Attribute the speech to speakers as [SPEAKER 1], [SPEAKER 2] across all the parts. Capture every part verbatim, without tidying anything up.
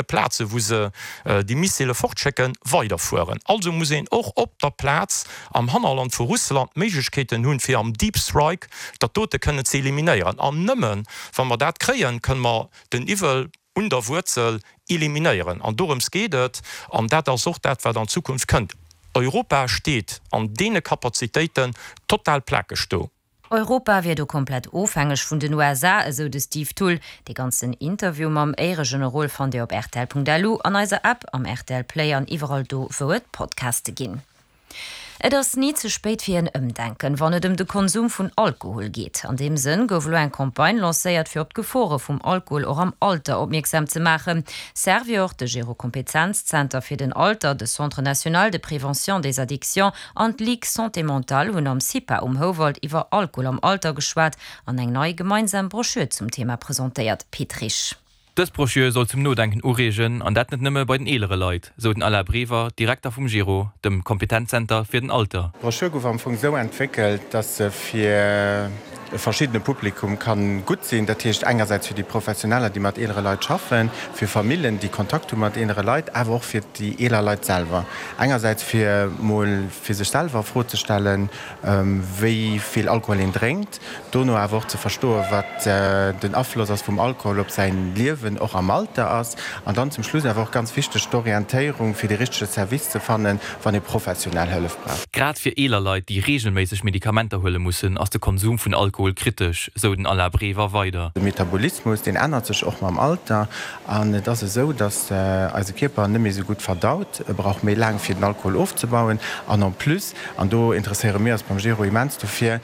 [SPEAKER 1] Plaze wou se déi Missile fortschécken, weiderfueren. Also muss een och op der Plaz am Hannerland vu Russland d'Méiglechkeeten hunn, fir am Deep Strike dat dote kënnen ze eliminéieren. An nëmmen, wa mer dat kréien, kënne mer den Iwwel un der Wuerzel eliminéieren. An dorëms geet et, an dat ass och dat, wat an Zukunft kënnt. Europa steet an deene Kapazitéiten total plakeg do.
[SPEAKER 2] Europa wier do komplett ofhängeg vun den U S A, esou de Steve Thull. Dee ganzen Interview mam Éieregenerol fannt Dir op rtl Punkt L U, an eiser App, am R T L Play an iwwerall do, wou et Podcaste ginn. Et ass ni ze spéit fir en Ëmdenken, wann et ëm de Konsum vun Alkohol geet. An deem Sënn gouf elo eng Campagne lancéiert, fir op d'Gefore vum Alkohol och am Alter opmierksam ze maachen. Servior, de Gerokompetenzzenter fir den Alter, de Centre national de prévention des addictions an d'Ligue Santé mentale hunn am CIPA um Houwald iwwer Alkohol am Alter geschwat an eng nei gemeinsam Broschür zum Thema presentéiert. Pit Risch.
[SPEAKER 3] Dës Broschür soll zum Nodenken ureegen, an dat net nëmme bei den eelere Leit, sou den Alain Brever, Direkter vum Gero, dem Kompetenzzenter fir den Alter.
[SPEAKER 4] D'Broschür gouf am Fong sou entwéckelt, dass se fir e verschiddene Publikum kann gutt sinn. Dat heescht engersäits fir déi Professioneller, déi mat eelere Leit schaffen, fir Famillen, déi Kontakt hu mat eelere Leit, awer och fir déi eeler Leit selwer. Engersäits fir mol fir sech selwer a Fro ze stellen, wéi vill Alkohol een drénkt, dono awer och ze verstoen, wat den Afloss ass vum Alkohol op säin Liewen och am Alter ass. An dann zum Schluss awer och ganz wichteg d'Orientéierung, fir de richtege Service ze fannen, wann ee professionell Hëllef brauch.
[SPEAKER 3] Grad fir eeler Leit, déi reegelméisseg Medikamenter huele mussen, ass de Konsum vun Alkohol kritesch, sou den Alain Brever weider.
[SPEAKER 4] De Metabolismus, deen ännert sech och mam Alter. An et ass esou, datt eise Kierper net méi esou gutt verdaut. E brauch méi laang, fir den Alkohol ofzebauen. An en plus, an do interesséiere mir eis beim Gero immens dofir,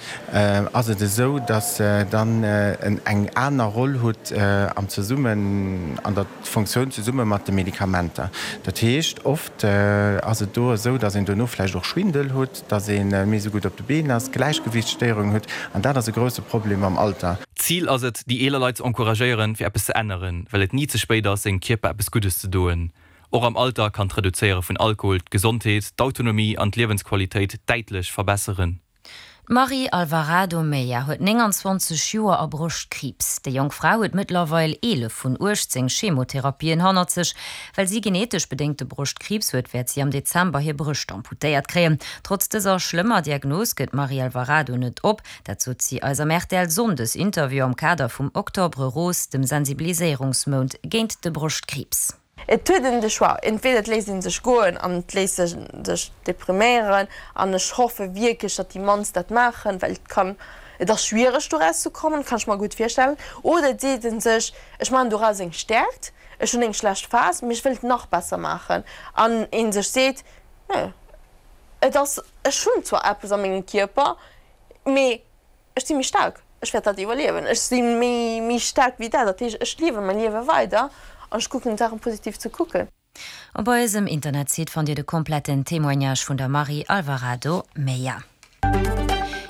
[SPEAKER 4] ass et esou, datt dann en eng aner Roll hutt am Zesummen, an der Funktioun zesumme mat de Medikamenter. Dat heescht, oft ass et do esou, datt een dono vläicht och Schwindel hutt, datt ee méi esou gutt op de Been ass, Gläichgewiichtsstéierungen hutt. An dat ass e grousse Problem am Alter.
[SPEAKER 3] Zil ass et, déi eeler Leit ze encouragéieren, fir eppes ze änneren, well et ni ze spéit ass, sengem Kierper eppes Guddes ze doen. Och am Alter kann d'Reduzéiere vun Alkohol d'Gesondheet, d'Autonomie an d'Liewensqualitéit däitlech verbesseren.
[SPEAKER 2] D'Marie Alvarado Meya huet nénganzwanzeg Joer a Broschtkriibs. Déi jonk Fra huet mëttlerweil eelef vun uechtzéng Chemotherapien hannert sech. Well si genetesch bedéngte Broschtkriibs huet, wäert si am Dezember hir Brëscht amputéiert kréien. Trotz dëser schlëmmer Diagnos gëtt d'Marie Alvarado net op. Dat sot si eis am R T L-Sonndes-Interview am Kader vum Octobre Rose, dem Sensibiliséierungsmount géint de Broschtkriibs.
[SPEAKER 5] Et huet een de Choix. Entweder et léisst een sech goen an et léisst een sech depriméieren an ech hoffe wierklech, datt déi mannst dat maachen, well et kann, et ass schwiereg doraus ze kommen, kann ech mer gutt virstellen. Oder et seet een sech, ech maachen doraus eng Stäerkt, ech hunn eng schlecht Phas, mee ech wëll et nach besser maachen. An een sech seet, nö, et ass, ech hunn zwar eppes a mengem Kierper, mee ech si méi staark, ech wäert dat iwwerliewen, ech si méi, méi staark wéi dat, dat heescht, ech liewe mäi Liewe weider an ech kucken d'Saachen positiv ze kucken.
[SPEAKER 2] Op eisem Internetsite fannt Dir de kompletten Témoignage vun der Marie Alvarado Meya.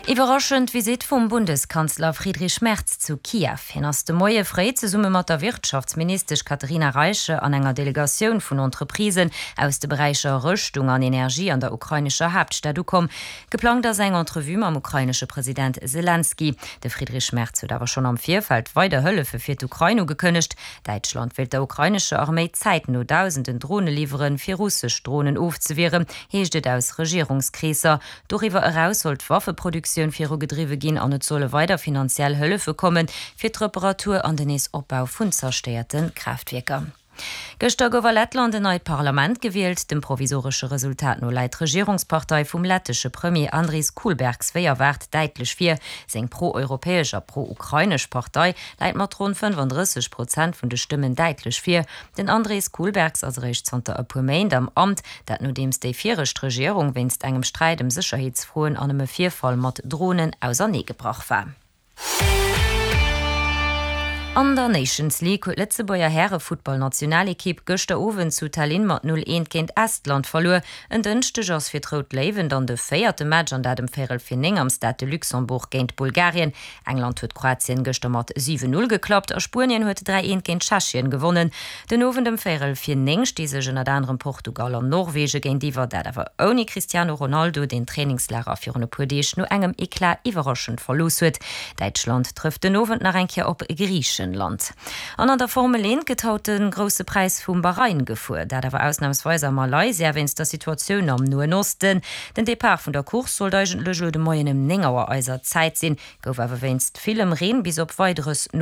[SPEAKER 2] Iwwerraschend Visitt vum Bundeskanzler Friedrich Merz zu Kiew. Hien ass de Moie fréi zesumme mat der Wirtschaftsministesch Katharina Reiche an enger Delegatioun vun Entreprisen aus de Beräicher Rëschtung an Energie an der ukrainescher Haaptstad ukomm. Geplangt ass eng Entrevue mam ukrainesche President Selenskyj. De Friedrich Merz huet awer schonn am Virfeld weider Hëllefe fir d'Ukrain ugekënnegt. Däitschland wéilt der ukrainescher Arméi zäitno dausenden Drone liwweren, fir russesch Dronen ofzewieren, heescht et aus Regierungskreesser. Doriwwer eraus soll d'Waffeproduktioun virugedriwwe ginn an et solle weider finanziell Hëllefe kommen, fir d'Reparatur an den Neesopbau vun zerstéierte Kraaftwierker. Gëschter gouf a Lettland en neit Parlament gewielt. Dem provisoresche Resultat no läit d'Regierungspartei vum lettesche Premier Andris Kulbergs wéi erwaart däitlech vir. Seng pro-europäesch a pro-ukrainesch Partei läit mat ronn fënnefandrësseg Prozent vun de Stëmmen däitlech vir. Den Andris Kulbergs ass eréischt zanter e puer Méint am Amt, dat nodeems déi viregt Regierung wéinst engem Sträit ëm Sécherheetsfroen an ëm e Virfall mat Dronen auserneegebrach war. An der Nations League huet d'Lëtzebuerger Härefuttballnationalekipp gëschter Owend zu Tallinn mat null eent géint Estland verluer. En Dënschdeg ass fir d'Rout Léiwen dann de véierte Match an dat ëm véierel vir néng am Stade de Luxembourg géint Bulgarien. England huet Kroatien gëschter mat siwen null geklappt a Spuenien huet dräi eent géint Tschechien gewonnen. Den Owend ëm véierel vir néng sti sech ënnert anerem Portugal an Norwegen géintiwwer, dat awer ouni Cristiano Ronaldo, deen d'Trainingslager virun e puer Deeg no engem Eclat iwwerraschend verlooss huet. Däitschland trëfft den Owend nach eng Kéier op Griichen. Griichenland. An an der Formel eent gëtt haut de Grousse Präis vum Bahrain gefuer, dat awer ausnamsweis a Malaysia wéinst der Situatioun am Noen Osten. Den Depart vun der Course sollt eigentlech elo de Moien ëm néng Auer eiser Zäit sinn, gouf awer wéinst villem Reen bis op Weideres no